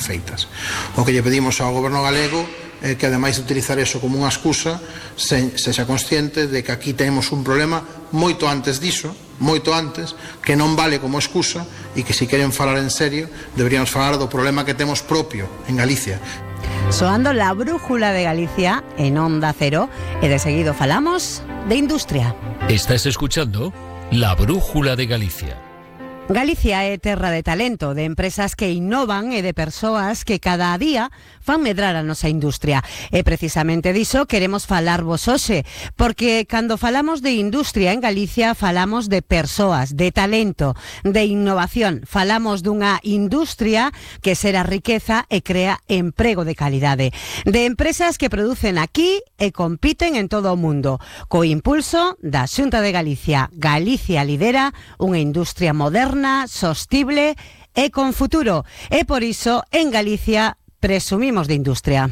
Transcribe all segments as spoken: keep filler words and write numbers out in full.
feitas. O que lle pedimos ao goberno galego é que, ademais de utilizar eso como unha excusa, se, sexa consciente de que aquí temos un problema moito antes diso, moito antes, que non vale como excusa e que, se queren falar en serio, deberíamos falar do problema que temos propio en Galicia. Soando la brújula de Galicia en Onda Cero e de seguido falamos de industria. Estás escuchando La Brújula de Galicia. Galicia é terra de talento, de empresas que innovan e de persoas que cada día fan medrar a nosa industria. E precisamente diso queremos falarvos hoxe, porque cando falamos de industria en Galicia falamos de persoas, de talento, de innovación. Falamos dunha industria que xera riqueza e crea emprego de calidade. De empresas que producen aquí e compiten en todo o mundo. Co impulso da Xunta de Galicia, Galicia lidera unha industria moderna, sostible e con futuro. E por iso, en Galicia, presumimos de industria.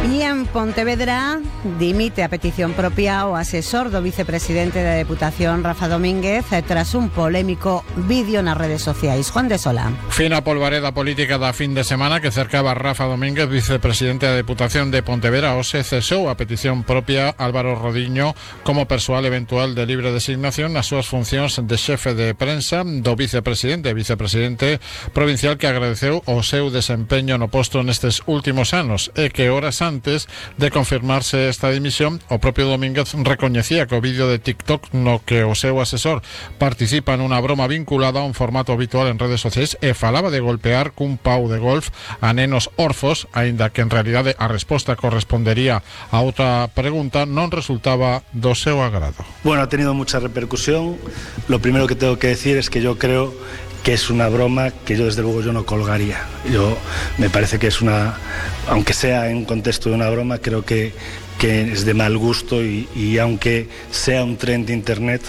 E en Pontevedra dimite a petición propia o asesor do vicepresidente da Deputación, Rafa Domínguez, tras un polémico vídeo nas redes sociais. Juan de Sola. Fina polvareda política da fin de semana que cercaba a Rafa Domínguez, vicepresidente da Deputación de Pontevedra. Hoxe cesou a petición propia Álvaro Rodiño como persoal eventual de libre designación nas súas funcións de xefe de prensa do vicepresidente, vicepresidente provincial, que agradeceu o seu desempeño no posto nestes últimos anos e que horas antes Antes de confirmarse esta dimisión, o propio Domínguez recoñecía que o vídeo de TikTok no que o seu asesor participa nunha broma vinculada a un formato habitual en redes sociais e falaba de golpear cun pau de golf a nenos orfos, aínda que en realidade a resposta correspondería a outra pregunta, non resultaba do seu agrado. Bueno, ha tenido mucha repercusión. Lo primero que tengo que decir es que yo creo que es una broma que yo desde luego yo no colgaría. Yo me parece que es una, aunque sea en contexto de una broma, creo que, que es de mal gusto y, y aunque sea un trend de internet,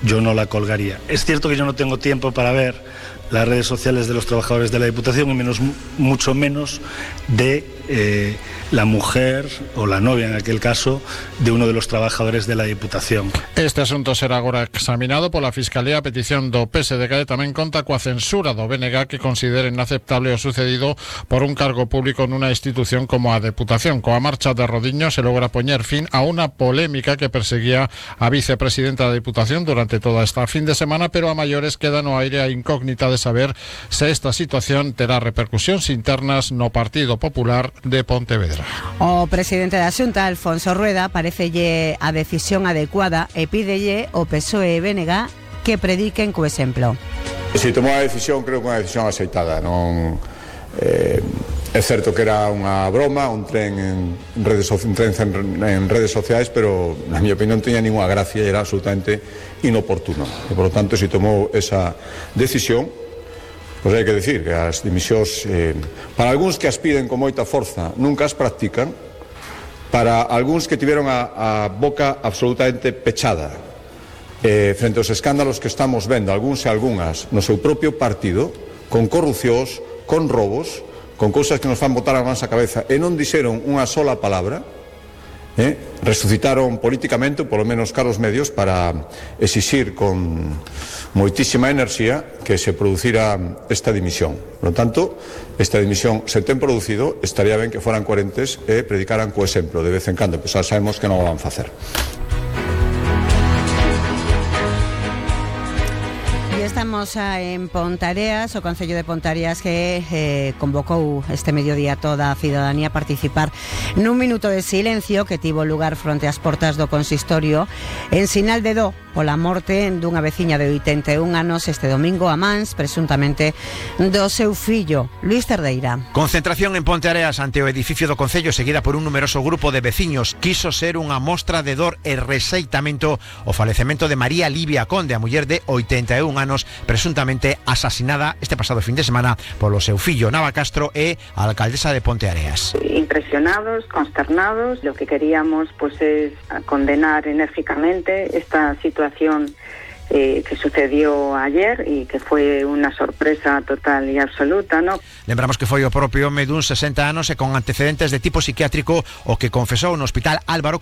yo no la colgaría. Es cierto que yo no tengo tiempo para ver las redes sociales de los trabajadores de la Diputación y menos, mucho menos de eh, la mujer o la novia, en aquel caso, de uno de los trabajadores de la Diputación. Este asunto será agora examinado pola Fiscalía a petición do P S D G. Tamén conta coa censura do B N G, que considera inaceptable o sucedido por un cargo público nunha institución como a Deputación. Coa marcha de Rodiño se logra poñer fin a unha polémica que perseguía a vicepresidenta da Diputación durante toda esta fin de semana, pero a maiores queda no aire a incógnita de saber se esta situación terá repercusións internas no Partido Popular de Pontevedra. O presidente da Xunta, Alfonso Rueda, parecelle a decisión adecuada e pídelle o P S O E e B N G que prediquen co exemplo. Se tomou a decisión, creo que unha decisión aceitada. Non, eh, é certo que era unha broma, un tren en redes, un tren en redes sociais, pero na miña opinión non tiña ninguna gracia e era absolutamente inoportuno. E, por lo tanto, se tomou esa decisión, pois hai que decir que as dimisións, eh, para algúns que as piden con moita forza, nunca as practican. Para algúns que tiveron a, a boca absolutamente pechada eh, frente aos escándalos que estamos vendo, algúns e algunhas, no seu propio partido, con corrupcións, con robos, con cousas que nos fan botar as mans á cabeza, e non dixeron unha sola palabra, eh, resucitaron políticamente, polo menos caros medios, para exixir con moitísima enerxía que se producira esta dimisión. Por lo tanto, esta dimisión se ten producido, estaría ben que foran coherentes e predicaran co exemplo de vez en cando, pois xa sabemos que non o van facer. Estamos en Pontareas, o Concello de Pontareas que eh, convocou este mediodía toda a cidadanía a participar nun minuto de silencio que tivo lugar fronte ás portas do consistorio en sinal de do pola morte dunha veciña de oitenta e un anos este domingo a mans, presuntamente, do seu fillo, Luís Cerdeira. Concentración en Ponteareas ante o edificio do Concello seguida por un numeroso grupo de veciños. Quiso ser unha mostra de dor e rexeitamento o falecemento de María Livia Conde, a muller de oitenta e un anos, presuntamente asasinada este pasado fin de semana polo seu fillo Nava Castro e a alcaldesa de Ponteareas. Impresionados, consternados, lo que queríamos pues es condenar enérgicamente esta situación Eh, que sucedió ayer y que fue una sorpresa total y absoluta, ¿no? Lembramos que foi o propio home dun sesenta anos e con antecedentes de tipo psiquiátrico o que confesou no hospital Álvaro